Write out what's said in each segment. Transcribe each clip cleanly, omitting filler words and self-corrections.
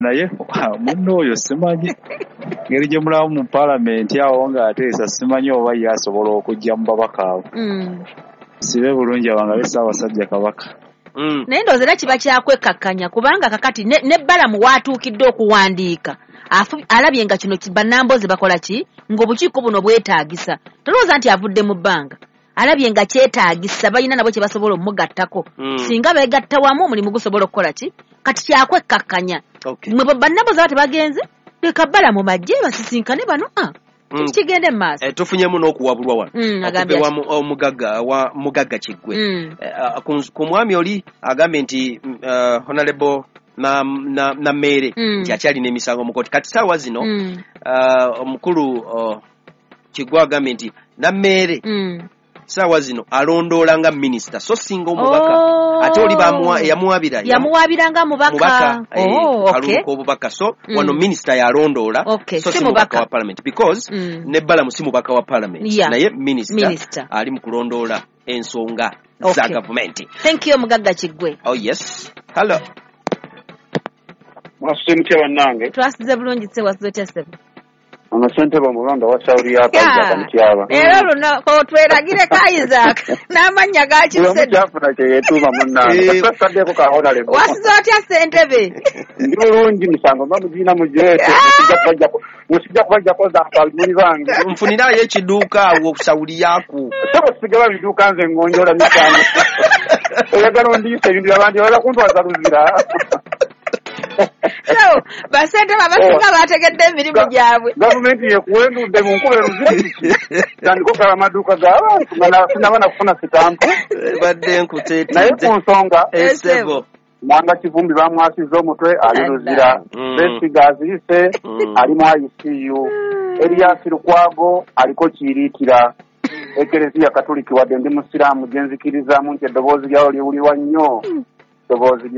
Naye munno oyo simanyi ngeri gye mulamu mu paalamenti awo ng'ateesa, simanyi oba ye asobola okujja mu babaka abo. Sibe bulungi abangabe Ssaabasajja Kabaka. Naye ndowooza era kiba kyakwekkakkanya, kubanga kakati ne Balamu waatuukidde okuwandiika alabye nga kino bannambozi bakola ki, ng'obukiiko buno bwetaagisa. Tolowooza nti avudde mu bbanga, alabye nga kyetaagisa, balina nabo kye basobola omugattako. Singa beegatta wamu omulimu gusobola okukola ki, kati kyakwekkakkanya. Mwe bannambozi aba tebagenze, leka Balamu bajje basisinkane bano kigende mu maaso. Tufunyemu n'okuwabulwa wano okuva omugagga wa Mugagga Kiggwe. Ku mwami oli agambye nti Honorable Nammeere nti akyalina emisango mu kkooti. Kati ssaawa zino omukulu Kiggwe agambye nti Nammeere ssaawa zino alondoola nga minisita so singa omubaka. Ate oli yamuwabira yamuwabira nga mubaka kalulu k'obubaka. So wano minisita yalondoola, so si mubaka wa parliament, because ne Balamu si mubaka wa parliament, naye minisita ali mu kulondoola ensonga za gavumenti. Thank you Mugagga Kiggwe. Oh yes, hello. Mwasuze mutya bannange? Twasuze bulungi ssebo, wasuze otya ssebo? Ono ssentebe omulonda wa Saudi Arabia Mutyaba. Era luno otweragireko Isaac n'amannya gakise. Kyafuna kye yeetuuma munnange. Kasaddeko ka honorable. Wasuze otya ssentebe? Ndi bulungi, misango mba mugiina mugireete. Musijja kubajjako za muli bange. Nfunirayo ekiduuka awo Saudi yako. Ssebo sigaba biduuka, nze ngonjoola misango. Oyagala ondiisa ebintu by'abandi, oyagala kuntwaza Luzira. So basentebe abasinga bategedde emirimu gyabwe. Gavumenti yekuwendudde mu nkuba eruzira kiki? Tandika okugaba amaduuka g'abantu nga sinaba na kufuna sitampu. Badde nkuteetidde. Naye ku nsonga, Esebo. Mwanga Kivumbi bamwasizza omutwe, ali Luzira. Besigye azirise, ali mu ICU. Erias Lukwago aliko Kiiriikira. Ekereziya Katoliki, wadde ndi musiraamu, gye nzikirizaamu nti eddoboozi lyawo liwulirwa nnyo. Eddoboozi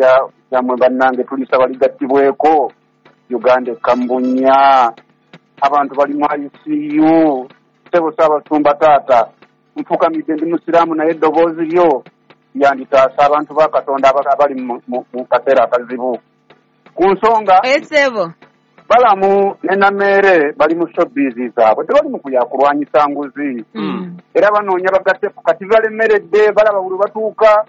lyammwe bannange tulisaba ligattibweko. Uganda ekkambunya, abantu bali mu ICU. Ssebo Ssaabasumba taata, nfukamidde, ndi musiraamu, naye eddoboozi lyo lyanditaasa abantu ba Katonda abali mu kaseera akazibu. Ku nsonga, Esebo. Balamu ne Nameere bali mu showbiz zaabwe, tebali mu kuyakulwanyisa nguzi. Era banoonya bagatteko, kati balemeredde. Balaba buli batuuka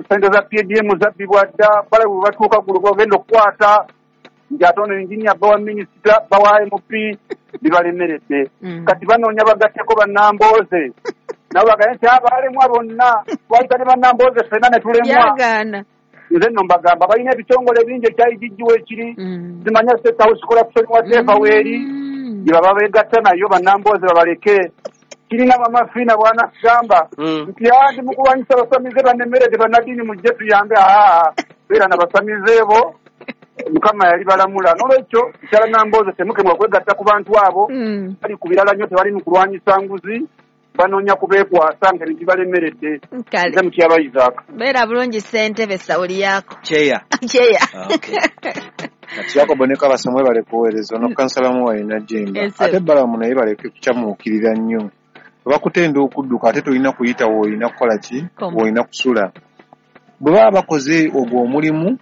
sente za PDM zabbibwa dda. Balaba buli batuuka gulu bagenda okukwata nti ate ono engineer bawa minisita, bawa MP, bibalemeredde. Kati banoonya bagatteko bannambooze, nabo bagaye nti abaalemwa bonna twayita ne bannambooze ffenna ne tulemwa. Byagaana. Nze nno mbagamba balina ebitongole bingi, ekya IGG weekiri, zimanya State House corruption whatever weeri, gye baba beegatta nayo bannambooze babaleke. Kirina Mama Fiina bw'anagamba nti ndi mu kulwanyisa abasamize bannemeredde, bannaddiini mujje tuyambe. Aa, beera na basamize bo, Mukama yali balamula. N'olwekyo kyala Nambooze, temukemwa kwegatta ku bantu abo. Bali ku birala nnyo, tebali mu kulwanyisa nguzi, banoonya kubeekwasa nga ebintu balemeredde. Kale. Nze Mutyaba Isaac. Beera bulungi ssentebe, sawuli yako. Cheya. Kyeya. Okay. Yakobo ne Kabasa, mwebale kuweereza. Ono kansala Muwalina Jemba. Yes, sir. Ate Balamu naye baleke kukyamuukirira nnyo. Bakutenda okudduka, ate tolina kuyita woolina kukola ki, Koma. woolina kusula. Bwe baba bakoze ogwo omulimu,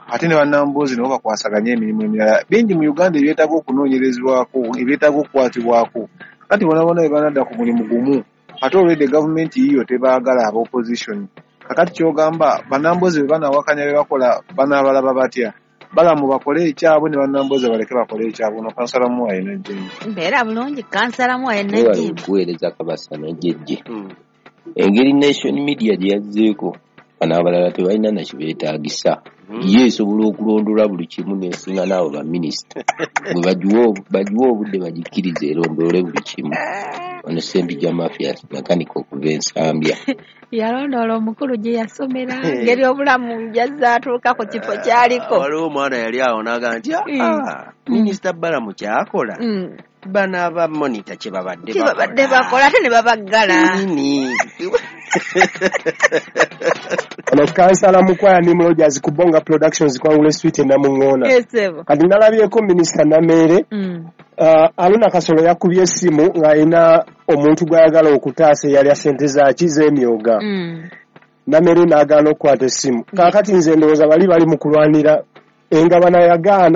ate ne bannamboozi nabo bakwasaganye emirimu emirala bingi mu Uganda ebyetaaga okunoonyerezebwako, ebyetaaga okukwatibwako. Kati bona bona bwe banadda ku mulimu gumu, ate olwedde gavumenti yiyo tebaagala aba opposition. Kakati kyogamba bannamboozi bwe banawakanya bye bakola, banaabalaba batya? Balamu bakole ekyabwe ne bannamboozi baleke bakole ekyabwe. Ono kansala Muwalina Jemba. Mbeera bulungi kansala Muwalina Mwebale Jemba. okuweereza Kabasa n'Ojjejje. Engeri Nation Media gye yazzeeko, bano abalala tebalina na kibeetaagisa. Ye esobola okulondoola buli kimu n'esinga n'abo baminisita. Bwe bagiwe obudde, bagikkirize erondoole buli kimu. Ono Ssempijja Mathias, makanika okuva Ensambya. Yalondoola omukulu gye yasomera, ngeri obulamu gyazze atuuka ku kifo kyaliko. Waliwo omwana yali awo n'agamba nti, "Ah, minisita Balamu kyakola, bano aba Monitor kye babadde Kye babadde bakola, ate ne babaggala. Nini. Ono kansala Mukwaya Nim Rogers ku Bonga Productions, Kwangule Street e Namuŋŋoona. Esebo. Kati nalabyeko minisita Nameere, Aluna Kasolo yakubye essimu ng'alina omuntu gw'ayagala okutaasa eyalya ssente zaaki z'emyoga. Nameere n'agaana okukwata essimu. Kaakati nze ndowooza bali bali mu kulwanira Engabana yagaana.